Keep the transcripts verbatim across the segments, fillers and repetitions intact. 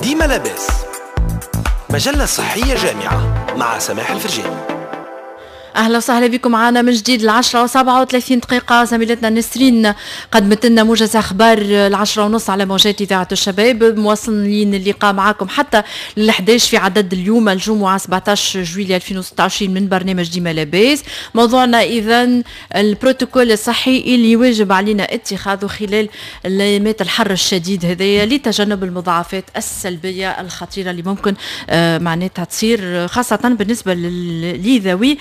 ديما لاباس، مجلة صحية جامعة مع سماح الفرجاني. اهلا وسهلا بكم معنا من جديد. العشرة وسبعة وثلاثين دقيقة، زميلتنا نسرين قدمت لنا موجز اخبار العشرة ونص على موجات اذاعة الشباب. مواصلين اللقاء معكم حتى للحداش في عدد اليوم الجمعة سبعة عشر جويلية ألفين وستة وعشرين من برنامج ديما لاباس. موضوعنا اذا البروتوكول الصحي اللي واجب علينا اتخاذه خلال الايامات الحر الشديد هذايا لتجنب المضاعفات السلبية الخطيرة اللي ممكن آه، معناتها تصير، خاصة بالنسبة لذوي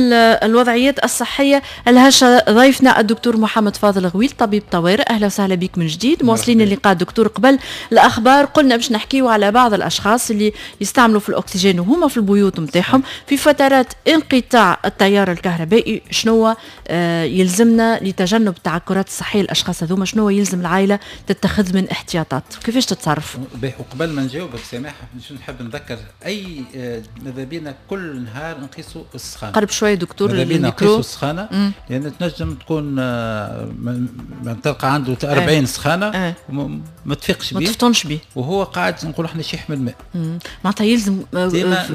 الوضعيات الصحية الهشة. ضيفنا الدكتور محمد فاضل غويل، طبيب طوارئ، أهلا وسهلا بك من جديد. مواصلين اللقاء دكتور. قبل الأخبار قلنا باش نحكيو على بعض الأشخاص اللي يستعملوا في الأكسجين وهما في البيوت نتاعهم في فترات انقطاع التيار الكهربائي. شنو آه، يلزمنا لتجنب التعكرات الصحية للأشخاص هذوما؟ شنو يلزم العائلة تتخذ من احتياطات؟ كيفاش تتصرف؟ وقبل ما نجاوبك سامح، نحب نذكر اي آه، ماذا بينا كل نهار نقيسوا السخانه. قرب شوية دكتور. ماذا بينا نقيسوا السخانه، لان تنجم تكون آه، تلقى عنده أربعين سخانه اه. ما تفيقش به، ما تفطنش به. وهو قاعد نقول احنا شيح من الماء. معناتها يلزم آه،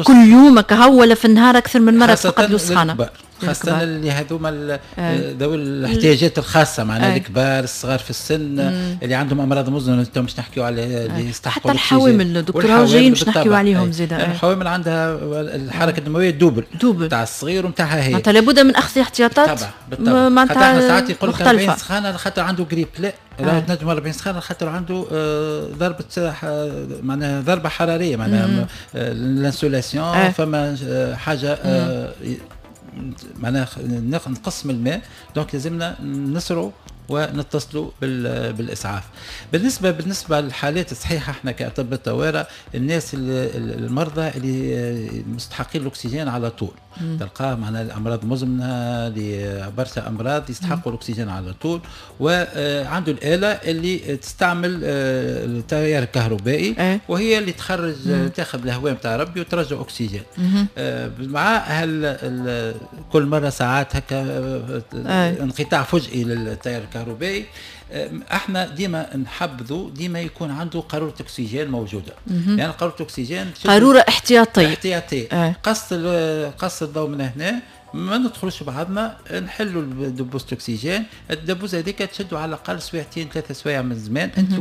كل يوم كهو ولا في النهار اكثر من مرة تفقد له السخانه؟ خاصة اللي هذوما آه. ذوي الاحتياجات الخاصة، معناها الكبار، الصغار في السن، مم. اللي عندهم أمراض مزمنة. انتم باش نحكيو على اللي يستحقوا. حتى الحوامل دكتور، جايين باش نحكيو عليهم زيد. الحوامل عندها الحركة الدموية double. double. تاع الصغير ونتاعها هي. معناتها لابد من اخذ احتياطات. بالطبع بالطبع. معناتها احنا ساعات يقول لك أربعين سخانة خاطر عنده قريب، لا، راهو تنجم أربعين سخانة خاطر عنده آه، ضربة، معناها ضربة حرارية، معناها l'insolation، فما آه، حاجة معناها نقص من الماء، donc لازمنا نسرعوا ونتصلوا بالاسعاف. بالنسبه بالنسبه للحالات الصحيحه، احنا كاطباء طوارئ، الناس المرضى اللي مستحقين الاكسجين على طول، تلقاه معنا الامراض مزمنه، برشا امراض يستحقوا الاكسجين على طول، وعنده الاله اللي تستعمل آه، التيار الكهربائي إيه. وهي اللي تخرج، تاخذ الهواء نتاع ربي وترجع اكسجين. آه، مع هل كل مرة ساعات هكا آه، إيه. انقطاع فجئي للتيار الكهربائي، احنا ديما نحبذوا ديما يكون عنده قارورة اكسجين موجوده، يعني لان قارورة اكسجين قارورة احتياطيه. احتياطيه اه. قص قص الضوء من هنا، ما ندخلوش بعضنا، نحلوا دبوس الاكسجين. الدبوس هذيك تشدوا على الاقل سويعتين ثلاثة سوايع من زمان انت.